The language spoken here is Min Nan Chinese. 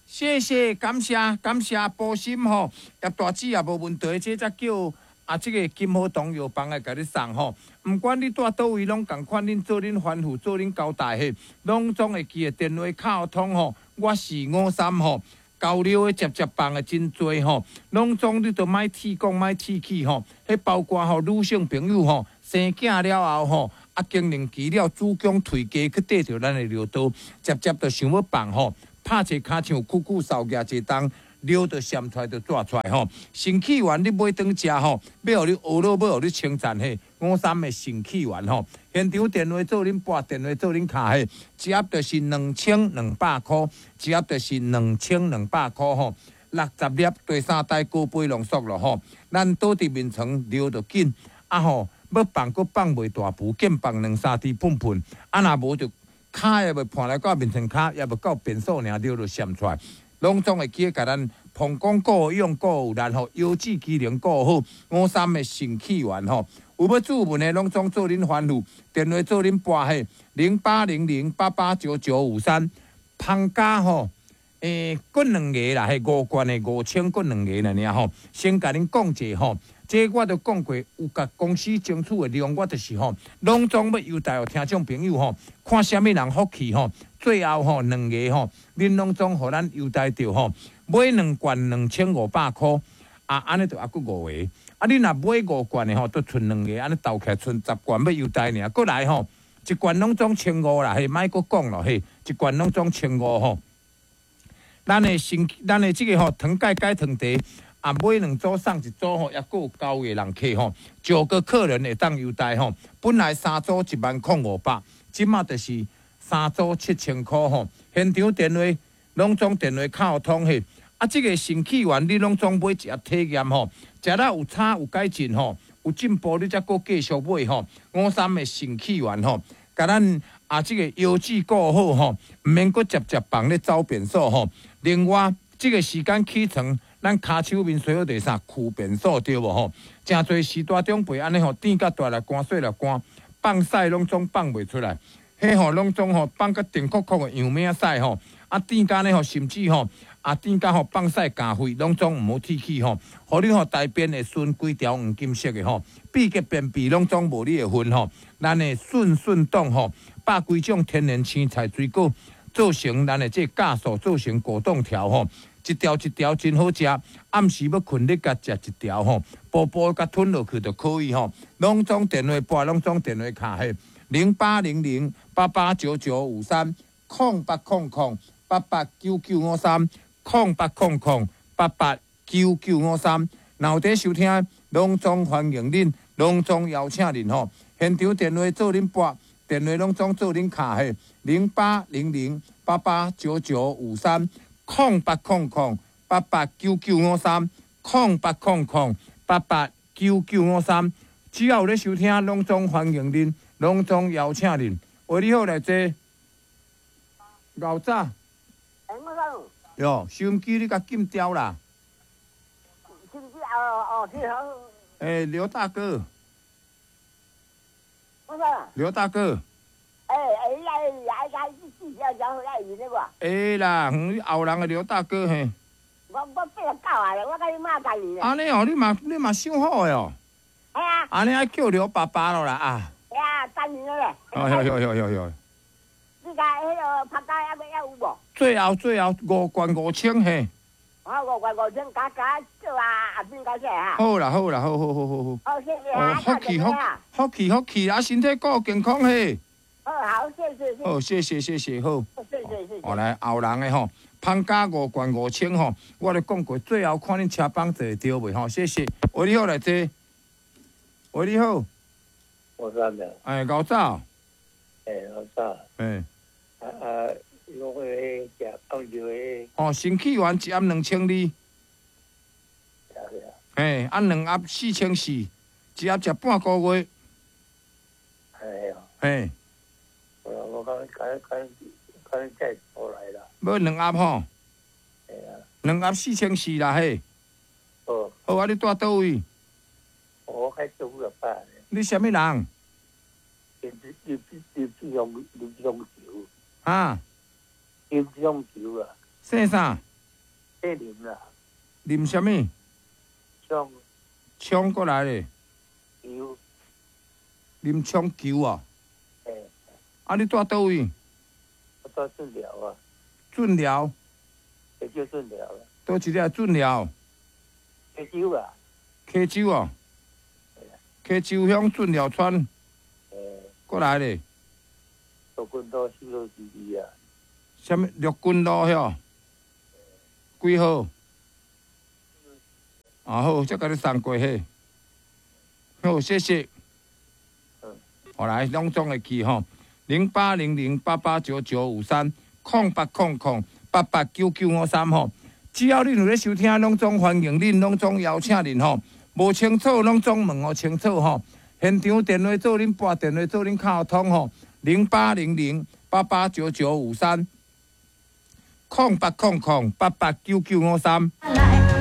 謝謝，感謝感謝波心吼，葉大姊也無問題，這才叫啊，這個金好堂藥房來共你送吼。毋管你蹛佗位，攏仝款，恁做恁吩咐，做恁交代嘿，攏總會記得電話敲通吼。我是五三吼，交流的接接棒的真濟吼，攏總你都莫鐵講莫鐵氣吼。彼包括吼女性朋友吼，生囝了後吼，啊更年期了，子宮退繼去綴著咱的尿道，接接就想欲放吼。拍一跤像久久掃舉一冬，尿就閃出來就紙出來吼。腎氣丸你買轉食吼，欲予你呵咾，欲予你稱讚嘿。五三的腎氣丸吼，現場電話做恁撥，電話做恁敲嘿，一盒就是2200箍，一盒就是2200箍吼。60粒第三代高倍濃縮咯吼，咱倒佇眠床尿就緊，啊吼，欲放閣放袂大浮，見放兩三滴噴噴，啊若無就跤也袂盤來到眠床跤，也袂到便所爾，尿就閃出來，攏總會記得共咱膀胱顧用顧有力吼，腰子機能顧好，五三的腎氣丸吼，有欲注文的攏總做恁吩咐，電話做恁撥嘿，0800889953，芳家吼，閣兩个啦，彼五罐的5000，閣兩个爾吼，先共恁講者吼。這我都講過，有共公司爭取的量，我就是吼，攏總欲優待予聽眾朋友吼，看啥物人福氣吼，最後吼兩个吼，恁攏總予咱優待著吼，買兩罐2500箍，啊，按呢就猶閣五个，啊，你若買五罐的吼，就賰兩个，按呢鬥起來賰10罐欲優待爾，閣來吼，一罐攏總千五啦，嘿，莫閣講咯，嘿，一罐攏總千五吼。咱的身，咱的這个吼，糖鈣解糖茶。啊，買兩組送一組吼，抑閣有九个人客吼，九個客人會當優待吼。本來三組10500，這馬就是三組7000箍吼。現場電話攏總電話敲通嘿。啊，這个腎氣丸你攏總買一盒體驗吼，食了有差有改進吼，有進步你才閣繼續買吼。五三的腎氣丸吼，共咱啊這个腰子顧好吼，毋免閣接接棒咧走便所吼。另外，這个時間起床，咱跤手面洗好就是啥，跍便所對無吼？誠濟時大長輩按呢吼，甜甲大力寒，細力寒，放屎攏總放袂出來，彼吼攏總吼放甲定確確的樣命屎吼，啊甜甲呢吼，甚至吼啊甜甲吼放屎加血，攏總毋好鐵齒吼，予你吼大便會順規條黃金色的吼，秘結便秘攏總無你的份吼。咱的順順凍吼，百幾種天然青菜水果做成咱的這個酵素，做成果凍條吼。一條一條真好食，暗時欲睏你共食一條吼，薄薄共吞落去就可以吼。攏總電話撥，攏總電話敲嘿，0800889953，0800889953，0800889953。若有佇收聽，攏總歡迎恁，攏總邀請恁吼。現場電話做恁撥，電話攏總做恁敲嘿，0800889953。0800889953，0800889953，只要有咧收聽，攏總歡迎恁，攏總邀請恁。喂，你好，來坐。老早。欸，我講。喲，收音機你共禁掉啦。收音機哦哦，你好。欸，劉大哥。我講。劉大哥。欸欸，欸欸欸，你會啦，你後人的劉大哥嘿。我89啊，我佮你媽仝年。按呢哦，你嘛傷好的哦。係啊。按呢愛叫劉爸爸囉啦啊。係啊，三年了咧。哦喲喲喲喲喲。你共彼个拍街猶閣有無？最後最後五罐5000嘿。啊，五罐五千，加加做啊，阿邊加起來哈。好啦好啦，好好好好好。好，謝謝啊。福氣福福氣福氣啊，身體顧健康嘿。好，好，謝謝。好，謝謝謝謝，好。謝謝謝謝。哦，來後人的吼，芳加五罐五千吼，我咧講過，最後看恁車幫坐會著袂吼？謝謝。喂，你好，來坐。喂，你好。我三的。哎，𠢕早。哎，𠢕早。哎。啊啊，我個食放尿的。哦，腎氣丸一盒2200。嘿，啊兩盒4400，一盒食半個月。哎呀。嘿。我講趕趕趕再過來啦。買兩盒吼。係啊。兩盒4400啦嘿。好。好啊，你蹛佗位？我開做五十八。你啥物人？林林志雄，林志雄球。啊？林志雄球啊。姓啥？咧啉啦。啉啥物？創。創過來咧。球。啉創球啊？欸。啊，你住佗位？我住圳寮啊。圳寮。溪洲圳寮啦。佗一个圳寮？溪洲啊。溪洲哦。溪洲鄉圳寮村。欸。過來咧。陸軍路4號之二啊。啥物？陸軍路遐？幾號？啊好，才共你送過去。好，謝謝。好來，攏總會記吼，0800889953，0800889953吼。只要恁有咧收聽，攏總歡迎恁，攏總邀請恁吼。無清楚，攏總問予清楚吼。現場電話做恁撥電話做恁較通吼，0800889953，0800889953。